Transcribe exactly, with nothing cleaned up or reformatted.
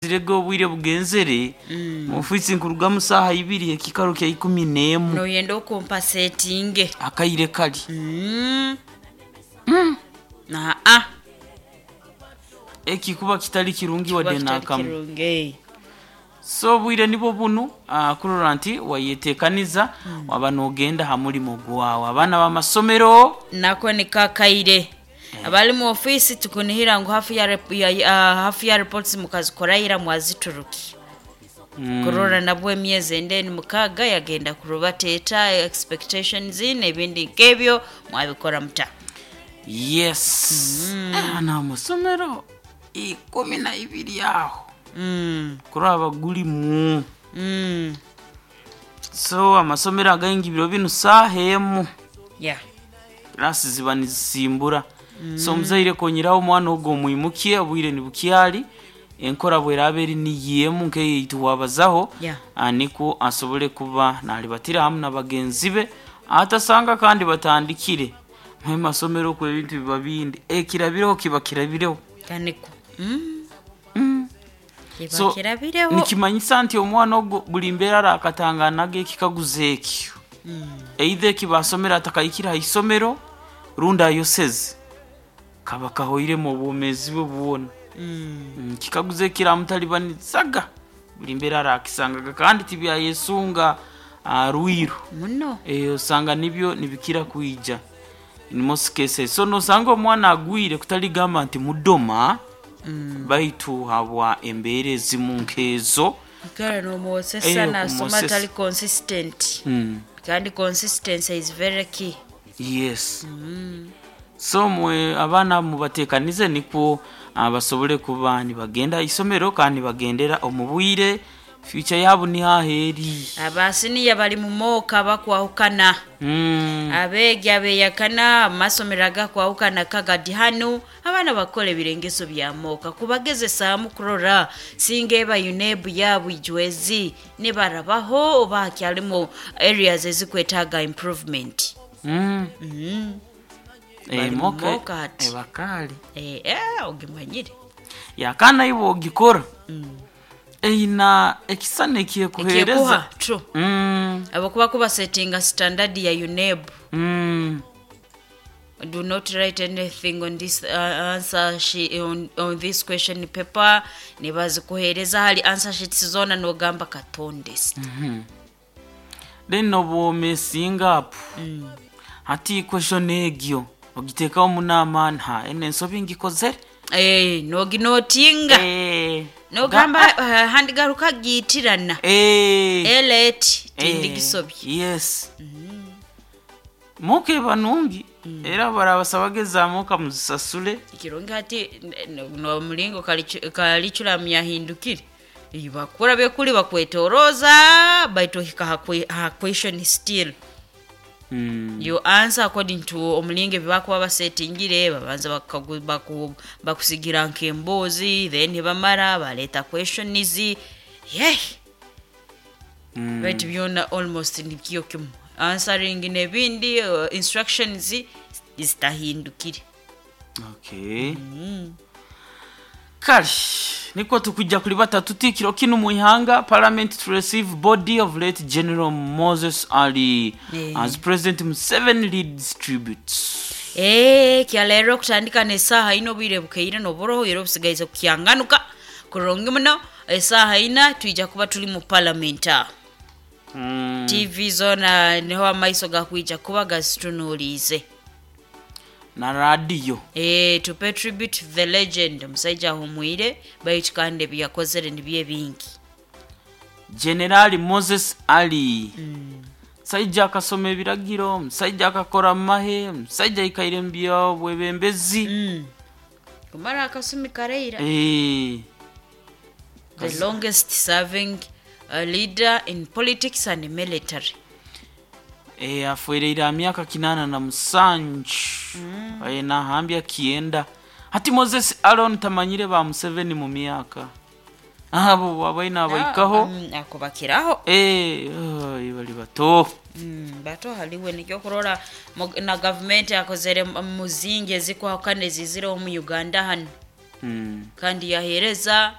Zirege obwire bugenzere ofiisi nkurugamu saaha ibiri ekikaro kya ikumi n'emu. Noyenda okumpasetinge. Akaire kali. Mm. Aa. Ekikuba kitali kirungi wadde Kuba kitali n'akamu. kirungi, eh. So obwire nibwo bunu, ah, kurora nti wayetekaniza waba nogenda ha mulimo gwawe, abaana b'amasomero. Nako nikakaire abali mu ofiisi tukunihira ngu hafu ya, rep- ya, ya, hafu ya reports mukazikorayira mwazituruki Mm. kurora nabwo emyezi endeni mukaaga yagenda kurubateeta expectations n'ebindi nk'ebyo mwabikora muta. Yes, abaana b'amasomero ikumi na ibiri aho mm. kuraba gulimu. Mm. So amasomero againgi biro binu saaha emu yeah. kirasi ziba nizisimbura. So omuzaire konyeraho omwana ogwo omwimukye obwire nibukyali, enkora bweraba eri niyo emu nk'eyeitu wabazaho. Yeah. Ah, nikwo asobole kuba nalibatira hamu na bagenzi be atasanga kandi batandikire mu masomero okwo ebintu biba bindi, ekirabireho kiba kirabireho. Kaniko mm. Mm. Kiba So kirabireho. nikimanyisa nti omwana ogwo buli mbeera arakatanganaga ekikaguzo ekyo, either ekibasomera atakahikire ha isomero rundi ayoseze kaba kahoiremu obwomeezi bwe bwona. mm. Mm, kikaguzo ekiramutalibanizaga buli mbeera arakisangaga kandi tibyayesunga ah, rwiru. Muno. Eh, osanga nibyo nibikira kwija in most cases. So nosanga omwana agwire kutaligamba nti mudoma, mm. baitu habwa embeera ezimu nkezo. Kale nomwosesa Eh, nasoma okumwosesa. atali consistent. mm. Kandi consistency is very key. Yes, so mwe abaana mubatekanize nikwo ah, basobole kuba nibagenda isomero kandi nibagendera omu bwire, future yabo nihaheeri. Abasiniya bali mu mooka bakwahukana. mm. Abeegi abeyakana amasomero agakwahukana kagadi hanu abaana bakora ebirengeso bya mooka kubagezesaamu kurora singa eba UNEB yabu ijwezi nibarabaho oba hakyalimu areas ezikwetaaga improvement. mm. mm. Eh, Bali mu moka mooka hati. ebakaali. Eh, eh, ogimanyire. Yakana iwe ogikora eina ekisana ekyekuheereza. Ekyekuha true. mm. Abakuba kubasetinga standard ya UNEB. mm. Do not write anything on this uh, answer she, on, on this question paper, nibazikuhereza hali answer sheets zona nogamba katondest. Then nobwomesinga apo hati question egyo ogiteekaho munama nta ene ensobi ngikozere. Eh, noginotinga. Eh, Nogamba uh, handigaruka giitirana. eh, Elet eh, tindigisobye. Yes, muka banungi era barabasaba gezaamuka muzisasule. Ekirungi hati nomulingo kaliculamu yahindukire bakura byekuli bakwetoroza baitu ohika ha que- ha question still. Mm. You answer according to omulingo ebibakuba basetingire, babanza bakagu- baku- bakusigira nk'emboozi, then bamara baleeta questions ye. Mm. Baitu byona almost nikyo kimu answering n'ebindi uh, instructions zitahindukire. Okay, kale niko tukujja kuli batatu tikiro kinu muihanga parliament to receive body of late General Moses Ali Eh. as President Museveni leads tributes. Eh, kyaleero okutandika n'essaaha ina obwire bukeire n'oburoho era obusigaize kukyanganuka kurungi muno essaaha ina twija kuba tuli mu parliament aho. mm. T V zona niho amaiso gakwija kuba gazitunuuliize. Na radiyo. Eh, to pay tribute to the legend, omusajja ahumwire baitu kandi ebyakozere nibyo ebingi. Generali Moses Ali, musajja akasoma ebiragiro, musajja akakora mahe, musajja aikaire mu byobwebembezi. mm. kumara akasumi kareira. Eh, The longest serving uh, leader in politics and military. eh, afuereire ha myaka kinana na musanju mm. eh, nahambya kienda hati Moses Aron tamanyire ba Museveni mu myaka abo abaina abaikaho. Mm, akubakiraho. Eh, ai, bali bato. Mm, bato haliwe nikyo kurora mu- na gavumenti akozere mu- muzingi ezikwahukana ezizireho mu Uganda hano. mm. Kandi yahereza.